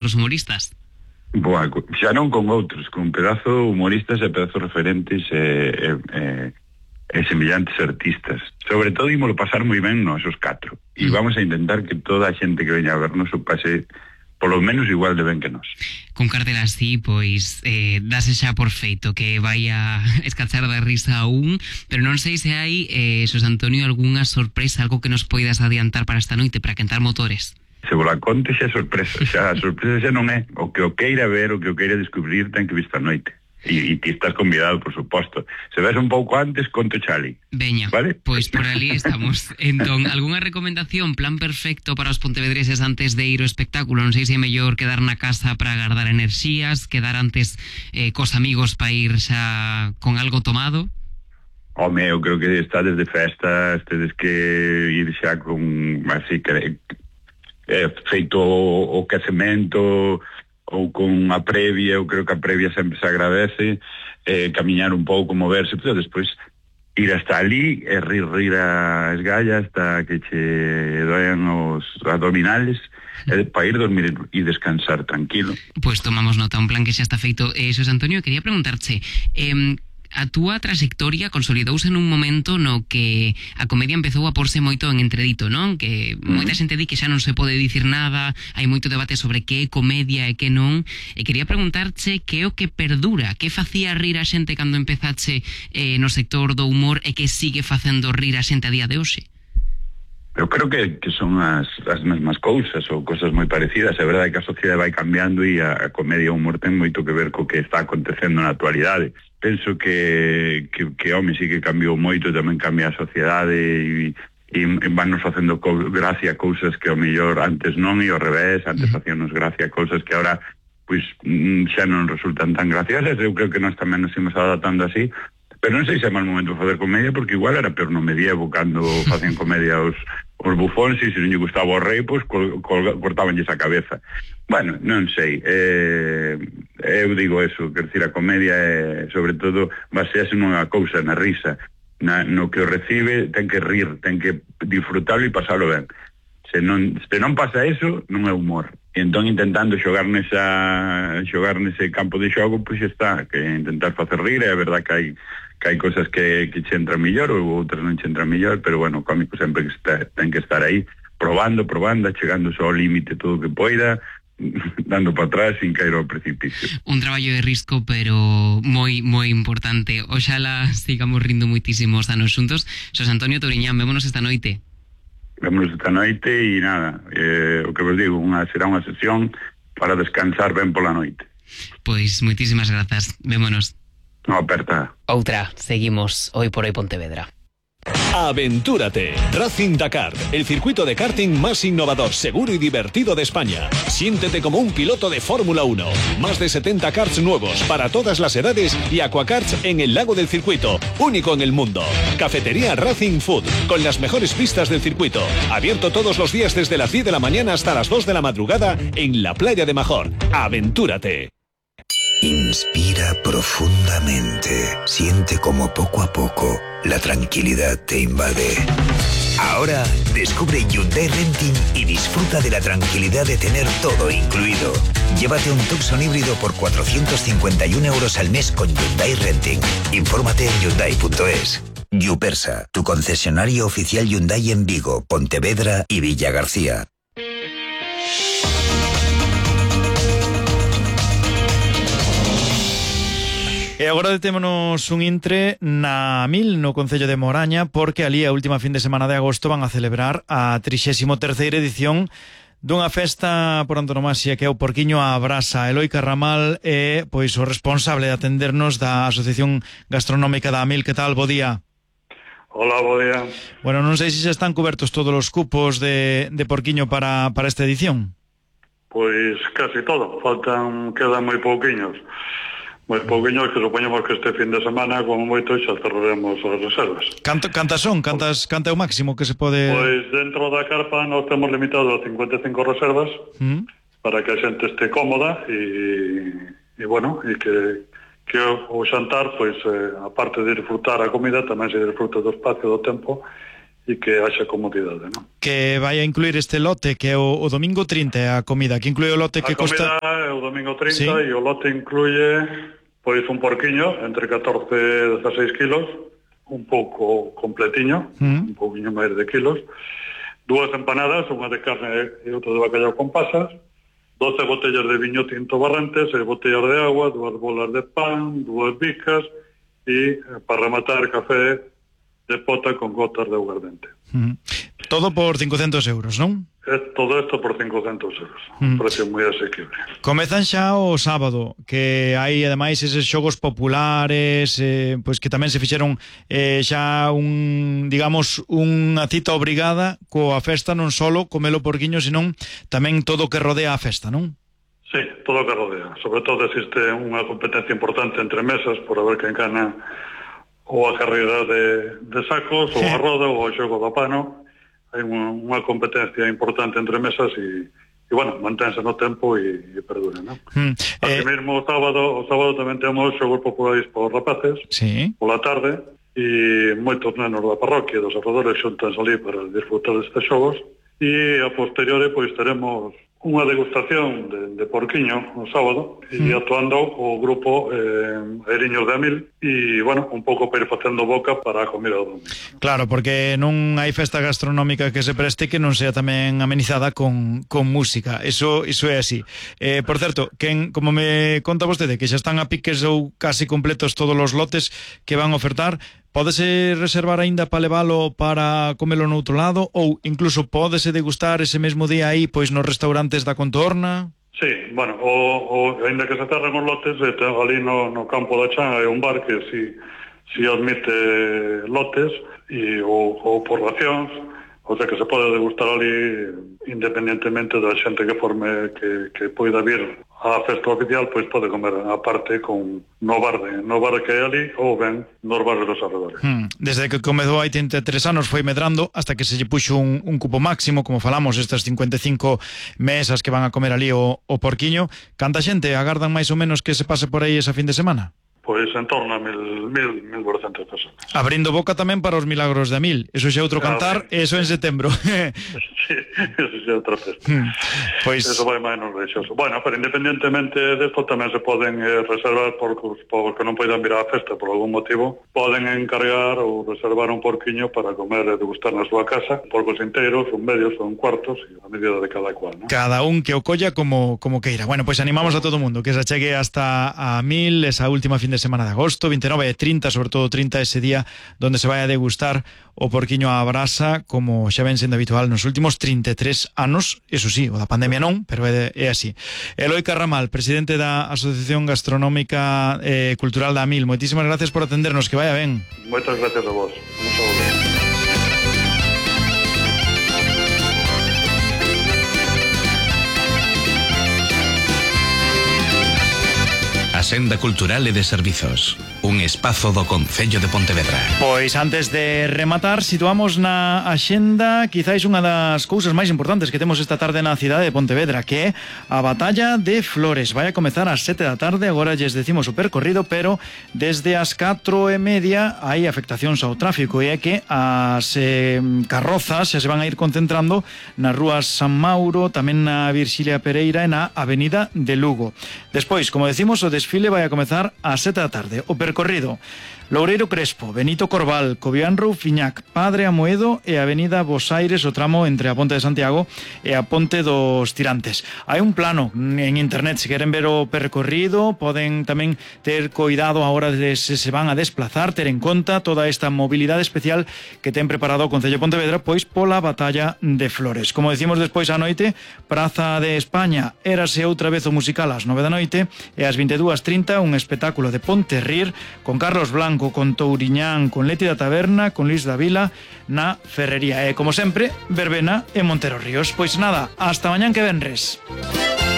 os humoristas? Boa, xa non con outros, con pedazo humoristas e pedazo referentes e semellantes artistas. Sobre todo ímolo pasar moi ben nos os 4 e vamos a intentar que toda a xente que veña a vernos o pase polo menos igual de ben que nós. Con cartel así, pois, dase xa por feito que vai a escachar da risa aún, pero non sei se hai, Xosé Antonio, algunha sorpresa, algo que nos poidas adiantar para esta noite, para quentar motores. Se vos la conte xa sorpresa, xa a sorpresa xa non é o que o queira ver, o que o queira descubrir ten que vir esta noite. E ti estás convidado, por suposto. Se ves un pouco antes, conto chali. Veña, vale? Pois por ali estamos. Entón, algunha recomendación, plan perfecto para os pontevedreses antes de ir ao espectáculo? Non sei se é mellor quedar na casa para agardar enerxías, quedar antes cos amigos para ir xa con algo tomado? Home, eu creo que estades de festa, tedes que ir xa con, así, feito o quecemento ou con a previa. Eu creo que a previa sempre se agradece, camiñar un pouco, moverse, pero despois ir hasta ali e rir a esgalla hasta que che doen os abdominales, para ir dormir e descansar tranquilo. Pois tomamos nota, un plan que xa está feito. Xosé Antonio, quería preguntarche, a túa traxectoria consolidouse nun momento no que a comedia empezou a porse moito en entredito, non? Que moita xente di que xa non se pode dicir nada, hai moito debate sobre que é comedia e que non, e quería preguntarche que é o que perdura, que facía rir a xente cando empezache no sector do humor e que sigue facendo rir a xente a día de hoxe? Eu creo que son as mesmas cousas ou cousas moi parecidas. É verdade que a sociedade vai cambiando e a comedia e o humor ten moito que ver co que está acontecendo na actualidade. Penso que home, sí que cambiou moito, tamén cambia a sociedade e vannos facendo gracia cousas que ao mellor antes non, e ao revés, antes facíanos gracia cousas que ahora pois xa non resultan tan graciosas. Eu creo que nós tamén nos imos adaptando así, pero non sei se é mal momento facer comedia, porque igual era peor no medievo cando facían comedia os bufóns, e se non lle gustaba o rei, pois cortabanlles a cabeza. Bueno, non sei, eu digo eso, quer decir, a comedia é, sobre todo, basease nunha cousa, na risa, no que o recibe ten que rir, ten que disfrutarlo e pasarlo ben. Se non pasa eso, non é humor. E entón, intentando xogar nese campo de xogo, pois está, que intentar facer rir. É verdad que hai cosas que che entran millor ou outras non che entran millor, pero bueno, o cómico sempre ten que estar aí, probando, chegando só ao límite todo o que poida, dando para atrás sin caer ao precipicio. Un traballo de risco, pero moi, moi importante. Oxalá sigamos rindo moitísimos anos xuntos. Xosé Antonio Touriñán, vémonos esta noite. Vémonos esta noite e nada, o que vos digo, será unha sesión para descansar ben pola noite. Pois moitísimas grazas, vémonos. No, aperta. Outra, seguimos hoy por hoy Pontevedra. Aventúrate. Racing Dakar, el circuito de karting más innovador, seguro y divertido de España. Siéntete como un piloto de Fórmula 1. Más de 70 karts nuevos para todas las edades y aquakarts en el lago del circuito, único en el mundo. Cafetería Racing Food, con las mejores pistas del circuito. Abierto todos los días desde las 10 de la mañana hasta las 2 de la madrugada en la playa de Major. Aventúrate. Inspira profundamente. Siente como poco a poco la tranquilidad te invade. Ahora descubre Hyundai Renting y disfruta de la tranquilidad de tener todo incluido. Llévate un Tucson híbrido por 451 euros al mes con Hyundai Renting. Infórmate en Hyundai.es. Yupersa, tu concesionario oficial Hyundai en Vigo, Pontevedra y Villa García. E agora detémonos un intre na Mil, no Concello de Moraña, porque ali a última fin de semana de agosto van a celebrar a 33ª edición dunha festa por antonomasia que é o Porquiño á Brasa. Eloi Carramal é pois o responsable de atendernos da Asociación Gastronómica da Mil. Que tal? Bo día. Hola, bo día. Bueno, non sei se xa están cubertos todos os cupos de Porquiño para esta edición. Pois casi todo, quedan moi pouquiños. Moi pouquiños, que supoñemos que este fin de semana, como moito, xa cerraremos as reservas. Canta son? Canta é o máximo que se pode... Pois dentro da carpa nos temos limitado a 55 reservas para que a xente este cómoda e bueno, e que o xantar, pois, aparte de disfrutar a comida, tamén se disfruta do espacio, do tempo e que haxa comodidade, non? Que vai a incluir este lote que é o domingo 30 a comida, que inclui o lote que costa... A comida é o domingo 30, sí. E o lote incluye pois un porquiño entre 14 e 16 kilos, un pouco completiño, un pouquinho máis de kilos, 2 empanadas, unha de carne e outra de bacallau con pasas, 12 botellas de viño tinto Barrantes, 6 botellas de agua, 2 bolas de pan, 2 bicas e, para rematar, café de pota con gotas de aguardente. Todo por 500 euros, non? Todo isto por 500 euros. Un precio moi asequible. Comezan xa o sábado, que hai ademais eses xogos populares, pois que tamén se fixeron xa digamos, unha cita obrigada coa festa, non solo comelo porquiño, senón tamén todo o que rodea a festa, non? Sí, todo o que rodea. Sobre todo existe unha competencia importante entre mesas por a ver quen gana ou a carreira de sacos, ou a roda, ou o xogo do pano. Hai unha competencia importante entre mesas e bueno, manténse no tempo e perdura, non? Así mesmo o sábado tamén temos xogos populares por rapaces, sí, pola tarde, e moitos nenos da parroquia dos arredores xuntanse ali para disfrutar destes xogos, e a posteriore pois teremos unha degustación de porquiño no sábado e actuando o grupo Airiños de Amil e, bueno, un pouco para ir facendo boca para a comida do domingo. Claro, porque non hai festa gastronómica que se preste que non sea tamén amenizada con música. Eso é así. Por certo, como me conta vostede que xa están a piques ou casi completos todos os lotes que van a ofertar, pódese reservar aínda para levalo para comelo no outro lado ou incluso pódese degustar ese mesmo día aí pois nos restaurantes da contorna? Sí, bueno, aínda que se cerren os lotes, ali no campo da Chan hai un bar que si admite lotes ou por racións, o sea que se pode degustar ali independentemente da xente que forme que poida vir á festa oficial, pois pode comer aparte con no bar que hai ali ou ben nos bares dos arredores. Desde que comezou hai 33 anos foi medrando hasta que se lle puxo un cupo máximo, como falamos, estas 55 mesas que van a comer ali o porquiño. Canta xente agardan máis ou menos que se pase por aí esa fin de semana? Pois en torno a 1.400 personas. Abrindo boca tamén para os milagros de Amil. Eso xa outro cantar, eso en setembro. Sí, eso xa outra festa. Pois... Eso vai máis non reixoso. Bueno, pero independentemente desto tamén se poden reservar porque non poidan vir á festa por algún motivo, poden encargar ou reservar un porquiño para comer e degustar na súa casa, porcos inteiros, un medios ou un cuartos, a medida de cada cual, ¿no? Cada un que o colla como queira. Bueno, pois animamos a todo o mundo que se achegue hasta a Amil esa última fin de semana de agosto, 29 e 30, sobre todo 30 ese día donde se vai a degustar o porquiño á brasa como xa ven sendo habitual nos últimos 33 anos, eso sí, o da pandemia non, pero é así. Eloi Carramal, presidente da Asociación Gastronómica Cultural da Amil, moitísimas gracias por atendernos, que vaya ben. Moitas gracias a vos. Un saúdo. A Senda Cultural e de Servizos, un espazo do Concello de Pontevedra. Pois antes de rematar, situamos na axenda quizáis unha das cousas máis importantes que temos esta tarde na cidade de Pontevedra, que é a Batalla de Flores. Vai a comezar ás 7 da tarde, agora lles decimos o percorrido, pero desde as 4:30 hai afectacións ao tráfico, e é que as carrozas xa se van a ir concentrando nas rúas San Mauro, tamén na Virxilia Pereira e na Avenida de Lugo. Despois, como decimos, o desfile vai a comezar ás 7 da tarde. O percorrido: Loureiro Crespo, Benito Corval, Cobián Roufiñac, Padre Amoedo e Avenida Bos Aires, o tramo entre a Ponte de Santiago e a Ponte dos Tirantes. Hai un plano en internet, se queren ver o percorrido, poden tamén ter coidado a hora de se van a desplazar, ter en conta toda esta mobilidade especial que ten preparado o Concello de Pontevedra, pois pola Batalla de Flores. Como decimos despois á noite, Praza de España, érase outra vez o musical ás 9 da noite, e ás 22:30 un espectáculo de Ponterrir con Carlos Blanco, con Touriñán, con Leti da Taberna, con Luis da Vila na Ferrería. E, como sempre, verbena en Montero Ríos. Pois nada, hasta mañán que venres.